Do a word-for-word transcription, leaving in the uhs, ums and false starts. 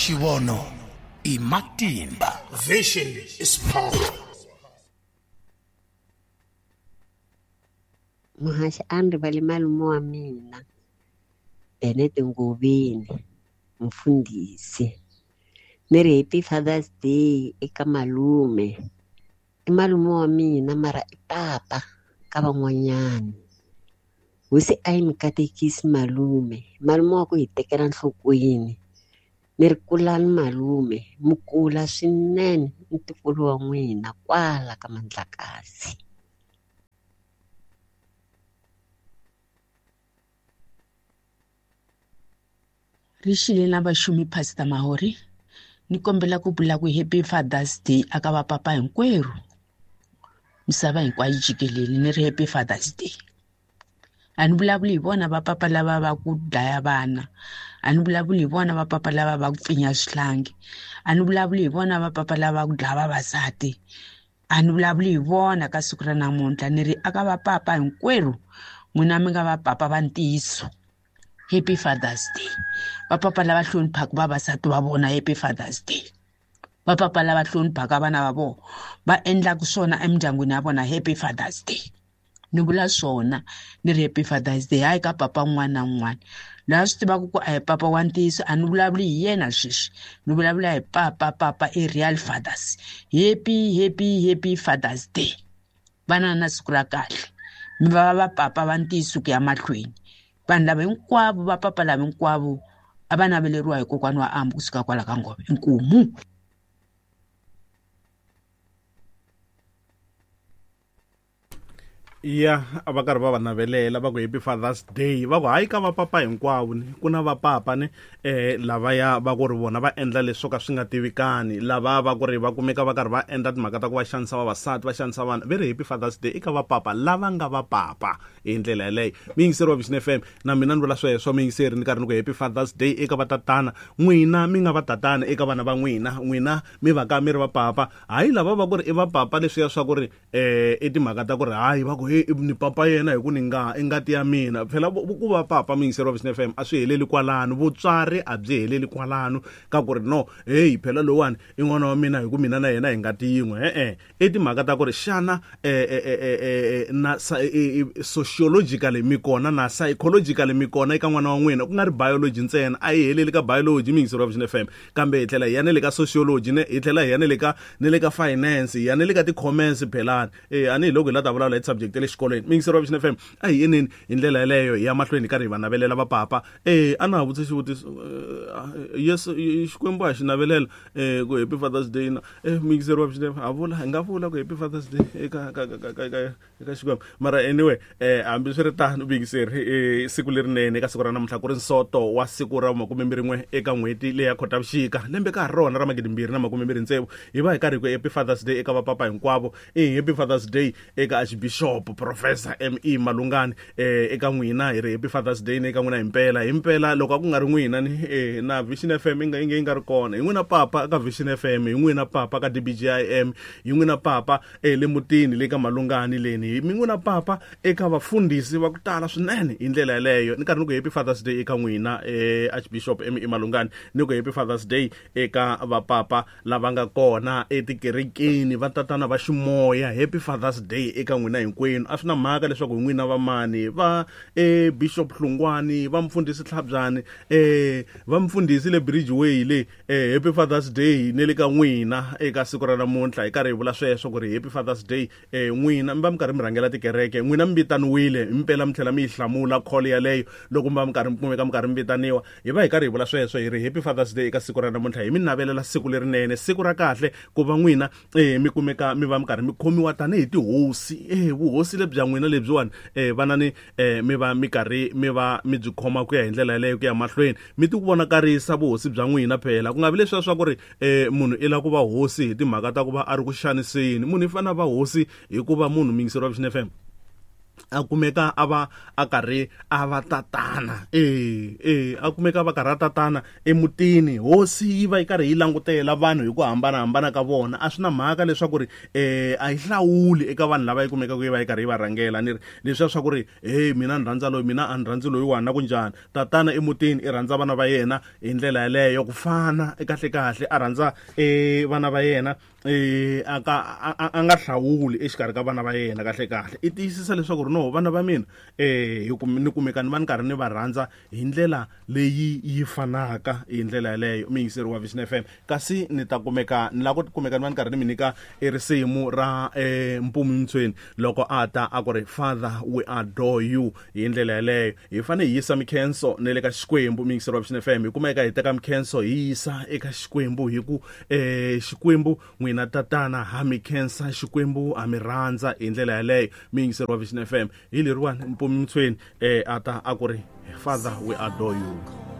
Xivono i matimba. Vision is power. Muhaxi a ni rivali malume wa mina Bennett Ngoveni mfundhisi ni ri happy Father's Day eka malume. I malume wa mina mara i papa ka van'wanyana. Hosi a yi mi katekisi malume, malume wa ku hi tekela nhlokweni. Ni ri kulani malume, mi kula swinene ntukulu wa n'wina kwala ka Mandlakazi. Ri xile na vaxumi Pastor Mahori ni kombela ku vula ku happy Father's Day aka vapapa hinkwerhu misava hinkwayo jikelele ni ri happy Father's Day. A ni vulavuli hi vona vapapa lava va ku dlaya vana, a ni vulavuli hi vona vapapa lava va ku pfinya swihlangi, a ni vulavuli hi vona vapapa lava ku dlaya vavasati, a ni vulavuli hi vona ka siku ra namuntlha. Ni ri aka vapapa hinkwerhu n'wina mi nga vapapa va ntiyiso, happy Father's Day. Vapapa lava hloniphaka vavasati va vona, happy Father's Day. Vapapa lava hloniphaka vana va vona va endlaka swona emindyangwini ya vona, happy Father's Day. Ni vula swona ni ri happy Father's Day hayi ka papa un'wana na un'wana laha swi tivaka ku a hi papa wa ntiyiso. A ni vulavuli hi yena sweswi, ni vulavula hi papa papa i real fathers. Happy happy happy Father's Day. Vana na siku ra kahle, mi va va papa va ntiyiso ku ya mahlweni. Vanhu lava hinkwavo va papa lava hinkwavo a va naveleriwa hi kokwana wa Ambu kusuka kwala ka Ngove. Inkomu. Ya a va karhi va va navelela va ku happy Father's Day, va ku hayi ka vapapa hinkwavo ni ku na vapapa ni eh lavaya va ku ri vona va endla leswo ka swi nga tivikani, lava va ku ri va kumeka va karhi va endla timhaka ta ku va xanisa vavasati va xanisa vana. Ve ri happy Father's Day eka vapapa lava nga vapapa hi ndlela yeleyo. Miyingiseri wa Vision F M na mina ni vula sweswo miyingiseri ni karhi ni ku happy Father's Day eka vatatana n'wina mi nga vatatana eka vana va n'wina, n'wina mi va ka mi ri vapapa, hayi lava va ku ri i vapapa leswiya swa ku ri eh i timhaka ta ku ri hayi va ku ni papa yena hi ku ni nga i ngati ya mina. Phela ku va papa miyingiseri wa Vision F M a swi heleli kwalano, vutswari a byi heleli kwalano ka ku ri no hey phela lowani i n'wana wa mina hi ku mina na yena hi ngati yin'we. E-e i timhaka ta ku ri xana na sociologically mi kona na psychologically mi kona eka n'wana wa n'wina, ku nga ri biology ntsena. A yi heleli ka biology miyingiseri wa Vision F M, kambe hi tlhela hi ya na le ka sociology ne hi tlhela hi ya na le ka na le ka finance, hi ya na le ka ti-commerce phelani. Eh a ni hi loko hi la ta vulavula hi subject le xikolweni. Miyingiseri wa Vision F M a hi yeneni hi ndlela yeleyo hi ya mahlweni hi karhi hi va navelela vapapa. Eh a na ha vutisa xivutiso yes Xikwembu a xi navelela eh ku happy Father's Day na eh miyingiseri wa Vision F M ha vula hi nga vula ku happy Father's Day eka ka ka ka eka Xikwembu. Mara anyway eh hambi swi ri tano miyingiseri eh siku lerinene eka siku ra namuntlha ku ri nsoto wa siku ra makume mbirhi n'we eka n'hweti leya Khotavuxika lembe ka ha rona ra magidi mbirhi na makume mbirhi tsevu hi va hi karhi ku happy Father's Day eka vapapa hinkwavo. Eh happy Father's Day eka Archbishop Professor M E Malungani eh eka n'wina hi ri happy Father's Day ne eka n'wina himpela himpela loko a ku nga ri n'wina ni eh na Vision F M inga inga inga ri kona. Hi n'wina papa ka Vision F M, hi n'wina papa ka D B G I M, hi n'wina papa eh le mutini le ka Malungani leni, hi n'wina papa eka vafundhisi va ku tala swinene hi ndlela yeleyo. Ni karhi ni ku happy Father's Day eka n'wina eh Archbishop M E Malungani, ni ku happy Father's Day eka vapapa lava nga kona etikerekeni, va tatana va ximoya. Happy Father's Day eka n'wina hinkwenu. A swi na mhaka leswaku hi n'wina va mani, va eh Bishop Hlungwani, va mfundhisi Tlhabyani, eh va mfundhisi le Bridgeway le eh happy Father's Day ne le ka n'wina eka siku ra namuntlha. Hi karhi hi vula sweswo ku ri happy Father's Day eh n'wina mi va mi karhi mi rhangela tikereke, n'wina mi vitaniwile himpela mi tlhela mi yi hlamula call yaleyo loko mi va mi karhi mi kumeka mi karhi mi vitaniwa. Hi va hi karhi hi vula sweswo hi ri happy Father's Day eka siku ra namuntlha. Hi mi navelela siku lerinene, siku ra kahle ku va n'wina eh mi kumeka mi va mi karhi mi khomiwa tanihi tihosi. Eh vuhosi lebya n'wina lebyiwani eh vanani eh mi va mi karhi mi va mi byi khoma ku ya hi ndlela yaleyo ku ya mahlweni, mi ti vonakarisa vuhosi bya n'wina. Phela ku nga vi leswiya swa ku ri eh munhu i lava ku va hosi hi timhaka ta ku va a ri ku xaniseni. Munhu i fanele a va hosi hikuva munhu miyingiseri wa Vision F M A kumeka a va a karhi a va tatana eh eh a kumeka va karhi a tatana emutini. Hosi yi va yi karhi yi langutela vanhu hi ku hambanahambana ka vona. A swi na mhaka leswaku ri eh a yi hlawuli eka vanhu lava yi kumekaka yi va yi karhi yi va rhangela. Ni ri leswiya swa ku ri hey mina ni rhandza loyi, mina a ni rhandzi loyiwani, na ku njhani. Tatana emutini i rhandza vana va yena hi ndlela yaleyo ku fana kahle kahle a rhandza eh vana va yena eh a ka a nga hlawuli exikarhi ka vana va yena kahle kahle. I tiyisisa leswaku ri no vana va mina eh hi ni kumeka ni va ni karhi ni va rhandza hi ndlela leyi yi fanaka hi ndlela yaleyo. Muyingiseri wa Vision F M, kasi ni ta kumeka ni lava ku kumeka ni va ni karhi ni mi nyika risimu ra eh Mpumi Mtsweni loko a ta a ku ri Father we adore you hi ndlela yaleyo. Hi fanele hi yisa mikhenso ne le ka Xikwembu. Muyingiseri wa Vision F M, hi kumeka hi teka mikhenso hi yisa eka Xikwembu hi ku eh Xikwembu n'wina tatana ha mi khensa, Xikwembu ha mi rhandza hi ndlela yaleyo. Muyingiseri wa Vision F M, hi leriwani Mpumi Mtsweni eh ata a ku ri Father we adore you.